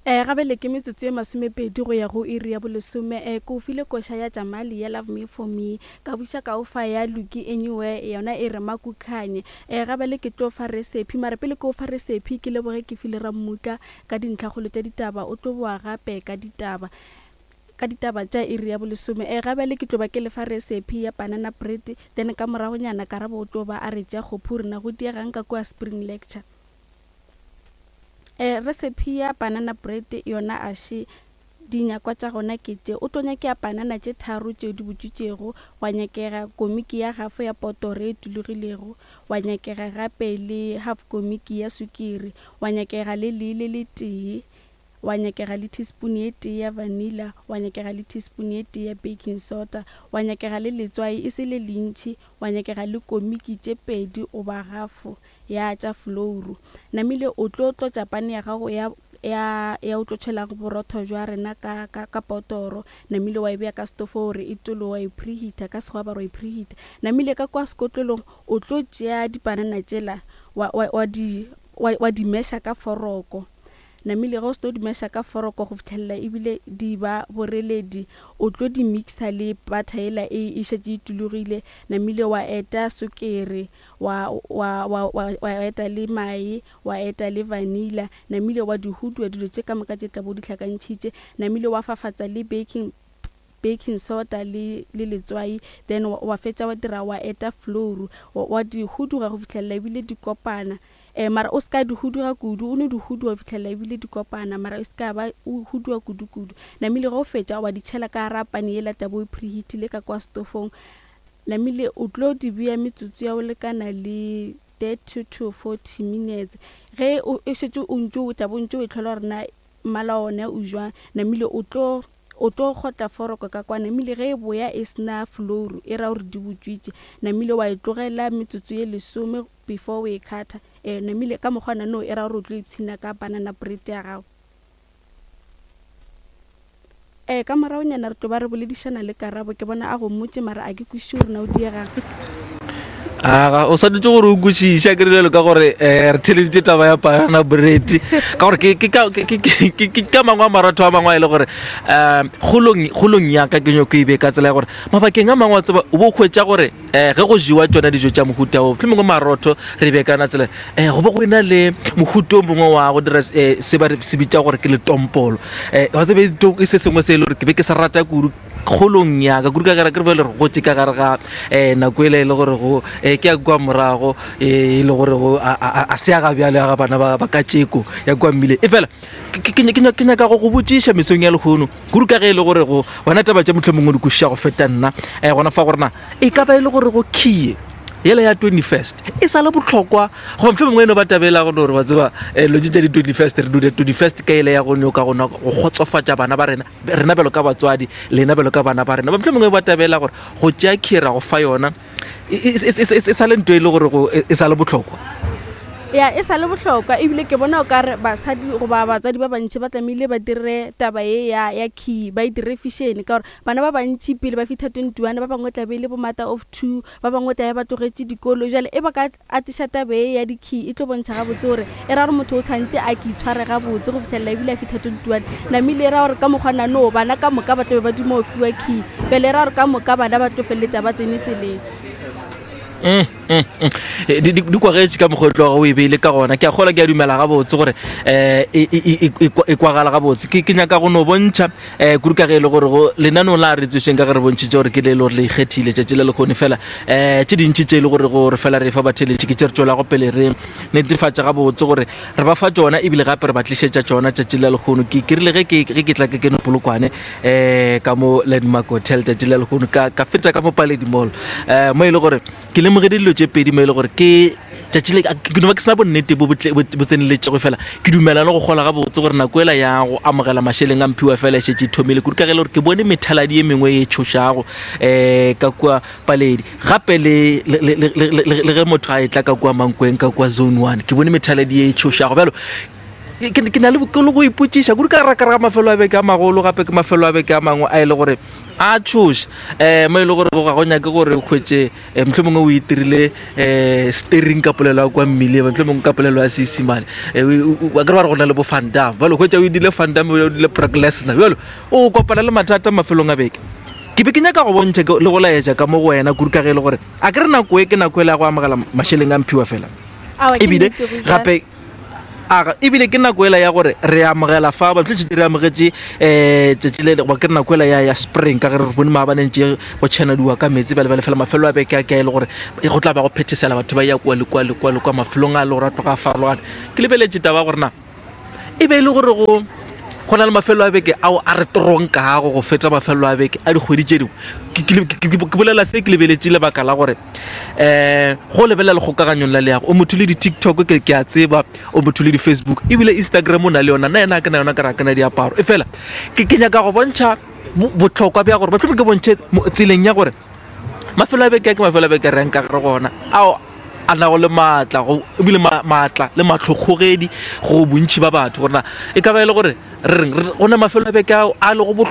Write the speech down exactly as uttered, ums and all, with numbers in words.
Um gabele ke metsotso e masomepedi go ya go iri ya bolesome. Um ke o file koša ya Jamali ya Love Me For Me, ka buša ka o fa ya Lucky Anywhere, yona e re Makukhanye. Um gabele ke tlo fa recipe, mara pele ke o fa recipe ke leboge ke file Rammutla ka dintlhakgolo tša ditaba, o tlo boa gape ka ditaba ka ditaba tša iri ya bolesome. Um gabele ke tlo ba ke lefa recipe ya banana bread, then ka moragonyana Karabo o tlo ba a re tša kgophu rena go diegang ka kua spring lecture. Um recipe ya banana bread yona aše dinyakwa tša gona ke tše: o tlo nyakega panana tše tharo tšeo di butšwitšego, wa nyakega komiki ya gafo ya potoro e tulugilego, wa nyakega gape le half komiki ya sukiri, wa nyakega le lee le letee, wa nyakega le teaspoon ye tee ya vanilla, wa nyakega le teaspoon ye tee ya baking soda, wa nyakega le letswai e se le lentši, wa nyakega le komiki tše pedi goba gafo ya tša flouru. Namile o tlo tlotša pane ya gago ya ya ya o tlo tšhelang borotho jwa rena ka ka ka potoro, namile wa e beya ka stofo gore e tolo, wa e preheater, ka sekgowa ba re wa e preheater. Namile ka kwa sekotlolong o tlo tšea dipanana tšela wa wa wa di wa, wa di meša ka foroko. Namile ge o se di meša ka foroko go fitlhelela ebile di ba boreledi, o tlo di mixa le butter yela e e šetše e tulugile. Namile wa eta sukiri, wa wa wa wa wa eta le mae, wa eta le vanilla, namile wa di hudua dilo tše ka moka tše tla bo di hlakantšhitše. Namile wa fafatsa le baking baking soda le le letswai, then wa, wa fetša wa dira wa eta flour, wa, wa di huduga go fitlhelela ebile di kopana. Um mara o se ka di huduga kudu, o no di huduga go fitlhelela ebile di kopana, mara e se ka ba o huduga kudu-kudu. Namile ge o fetša wa di tšhela ka gara pane yela tla bo o preheatile ka kwa stofong. Namile o tlo di beya metsotso ya go lekana le thirty to forty minutes. Ge o e šetše o ntše o tla bo ntše o e tlhola gore na mmala wa ona o jwang, namile o tlo o tlo kgotla foroko ka kwa. Namile ge e boya e sena flour, e ra gore di butšwitše. Namile wa e tlogela metsotso ye lesome before o e cutter. Um namile ka mokgwa no e ra gore o tlo ipshina ka banana bread ya gago. Um ka moragonyana re tlo ba re boledišana le Karabo, ke bona a go mmotše mara a ke kwešiše gore na o diegang. Aga o swanetše gore o kwešiše ke rile ka gore um re theleditše taba ya banana bread, ka gore ke ke ka ke- ke- ke- ke ka mangwe a maratho a mangwe a e le gore um kgolong kgolong ya ka ke nyako e be ka tsela ya gore mabakeng a mangwe wa tseba o bo hwetša gore um ge go jewa tsona dijo tša mohuta o mohlomongwe marotho re be kana tsela um go bo go ena le mohuta o mongwe wa go dira um se ba re se bitša gore ke letompolo. Um wa tsebe e se sengwe se e le gore ke be ke se rata kudu kgolong ya ka, kudu ka gare ke re bjale re gotše ka gare ga um nako ele e le gore go um ke ya kua morago e le gore go a a- a se ya ga bjale ya ga bana ba ba katšeko ya kua mmileng. E fela ke- ke ke- ke nyaka go go botšiša mesong ya lehono kudu ka ge e le gore go wena taba tše mohlomongwe di kwešiša go feta nna um gona fa gore na e ka ba e le gore go key yela ya twenty first e sa le bohlokwa, goba mohlomongwe e no ba taba e la go no gore wa tseba um lo tše tša di twenty first re dule twenty first ka ele ya go nyoka go go kgotsofatša bana ba rena, rena bjalo ka batswadi, lena bjalo ka bana ba rena, ba mohlomongwe ba taba e la gore go tšea key ra go fa yona e e- e- e- e sa le ntho e le gore go e e sa le bohlokwa. Ya, e sa le bohlokwa, ebile ke bona o ka re basadi goba batswadi ba bantši ba tlamehile ba dire taba ye ya ya key, ba e dire fashion, ka gore bana ba bantši pele ba fitlha twenty one ba bangwe tla be e le bo mother of two, ba bangwe tla be ba tlogetše dikolo. Jale e ba ka atiša taba ye ya di-key, e tlo bontšha gabotse gore e ra gore motho o tshwanetse a ke itshware gabotse go fitlhelela ebile a fitlha twenty one. Namile e ra gore ka mokgwa nano bana ka moka ba tlo be ba duma go fiwa key, pele e ra gore ka moka bana ba tlo feleletša ba tsene tseleng. Mm, mm, mm. Eh, di di- di kwagetše ka mokgwa o tloga o e beile ka gona, ke a kgola ke a dumela gabotse gore um e e- e- e e kwagala gabotse. Ke ke nyaka go no bontšha um kudu ka ge e le gore go lenaneo la re tsošeng ka ge re bontšhitše gore ke le e le gore le ikgethile tšatši le lekgone fela um tše dintši tše e le gore gore fela re fa batheletši ke tše re tšwelago pele re netefatša gabotse gore re ba fa tšona ebile gape re ba tlišetša tšona tšatši le lekgono. Ke ke rile ge ke ge ke tla ke kene Polokwane um ka mo Landmark Hotel tšatši le lekgono, ka ka feta ka mo Paledi Mall um mo e le gore ke lemogile dilo tše pedi mo e le gore ke tšatši le ke no ba ke sena bonnete bo bo tle- bo bo tseneletšego, fela ke dumela le go kgola gabotse gore nako ela ya go amogela mašeleng a mphiwa fela e šetše e thomile, kudu ka ge e le gore ke bone methaladi ye mengwe e tšhošago um ka kua Paledi, gape le le- le- le- le le- le ge motho a etla ka kua Mankweng ka kua Zone one ke bone methaladi ye e tšhošago. Bjalo Ke ke na le ke le go ipotšiša kudu ka ra ka ra mafelo a beke a magolo, gape ke mafelo a beke a mangwe a e le gore a tšhoša, um mo e le gore ga go nyake gore o hwetše um mohlomongwe o itirile um steering ka polelo ya kwa mmileng, mohlomongwe ka polelo ya Seesimane, a kere ba re go na le bo fandam, bjalo hwetša o idile fandam, o dile Brock Lesnar, bjalo o kopana le mathata mafelong a beke. Ke be ke nyaka go bontšha le go laetša ka mo go wena kudu ka ge e le gore a ke re nako e ke nako e le ya go amogela mašeleng a mphiwa fela, ebile gape aga ebile ke nako ela ya gore re amogela fa ba tlotse re amogetše um tšatši le goba ke re nako ela ya ya spring, ka ge re bone maabane ntše go tšhenadiwa ka metsi bjale bjale fela mafelo a beke a ke a e le gore go tla ba go phethesela, batho ba ya kua le kua le kua le kua mafelong a le gore a tloga a farologane. Ke lebeletše taba ya gore na e be e le gore go go na le mafelo a beke ao a re tronkago go feta mafelo a beke a dikgwedi tše dingwe. Ke bolela se ke lebeletše lebaka la gore um go lebelela lekgokaganyong la leago, o motho le di-TikTok, ke ke a tseba o motho le di-Facebook, ebile Instagram o na le yona, nna yena a ke na yona, ka re a ke na diaparo, e fela ke ke nyaka go bontšha bohlokwa bja gore mohlomongwe ke bontšhe tseleng ya gore mafelo a beke a ke mafelo a beke re yang ka gare gona ao a nago le maatla go ebile maatla le matlhokgogedi go bontši ba batho, gore na e ka ba e le gore re reng go na mafelo a beke ao a lego bohlokwa.